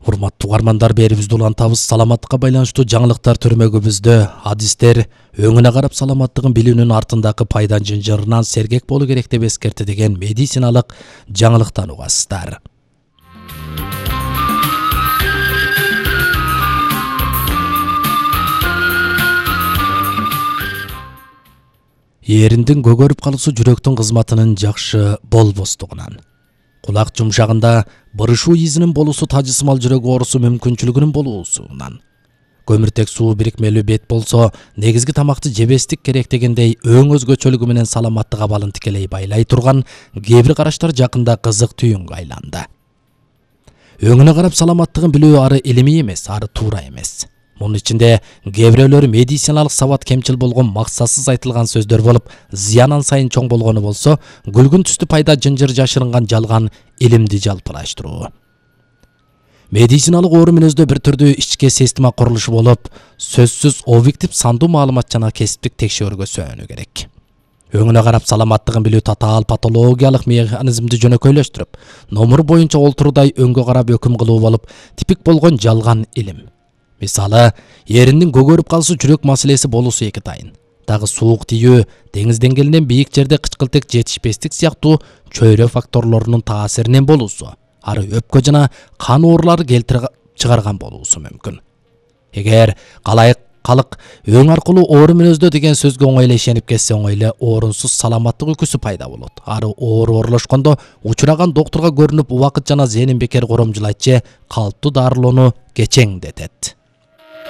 Урматтуу угармандар, берибизди улантабыз. Саламаттыкка байланыштуу жаңылыктар төрмөгүбүздө адистер өңүнө карап саламаттыгын билүүнүн артындагы пайдан жынжырынан сергек болуу керек деп эскерти деген медициналык жаңылыктан угасыздар. Эриндин көгөрүп калуусу жүрөктүн кызматынын жакшы болбостугунан, кулак жумшагында бырышуу изинин болуусу тажысымал жүрөк оорусу мүмкүнчүлүгүнүн болуусунан, көмүртек суу бирикмелүү бет болсо негизги тамакты жебестик керек дегендей өң өзгөчөлүгү менен саламаттык абалын тикелей байлай турган кээ бир караштар жакында кызык түйүнгө айланды. Өңүнө карап саламаттыгын билүү ары илимий эмес, ары туура эмес. Мунун ичинде кээ бирөөлөр медициналык сабат кемчил болгон, максатсыз айтылган сөздөр болуп, зыян сайын чоң болгону болсо, күлгүн түстүү пайда жынжыр жашырынган жалган илимди жалпылаштыруу. Медициналык оору мүнөздө бир түрдүү ички система курулушу болуп, сөзсүз объектив сандуу маалымат жана кесиптик текшөөргө сөөнү керек. Өңүнө карап саламаттыгын билүү татаал патологиялык механизмди жөнөкөйлөштүрүп, номур боюнча олтуруудай өңгө карап өкүм кылуу болуп, типик болгон жалган илим. Мисалы, эриндин көгөрүп калуусу жүрөк маселеси болуусу эки тайын. Дагы суук тийүү, деңиз деңгээлинен бийик жерде кычкылтек жетишпестик сыяктуу чөйрө факторлорунун таасиринен болуусу, ары өпкө жана кан оорулары келтирип чыгарган болуусу мүмкүн. Эгер калык өң аркылуу оору мүнөздө деген сөзгө оңойло ишенип кетсе, оңойло орунсуз саламаттык үкүсү пайда болот. Ары оору оорулошкондо учураган доктурга көрүнүп, убакыт жана зээнин бекер коромжулайт же калыптуу дарылоону кечеңдетет.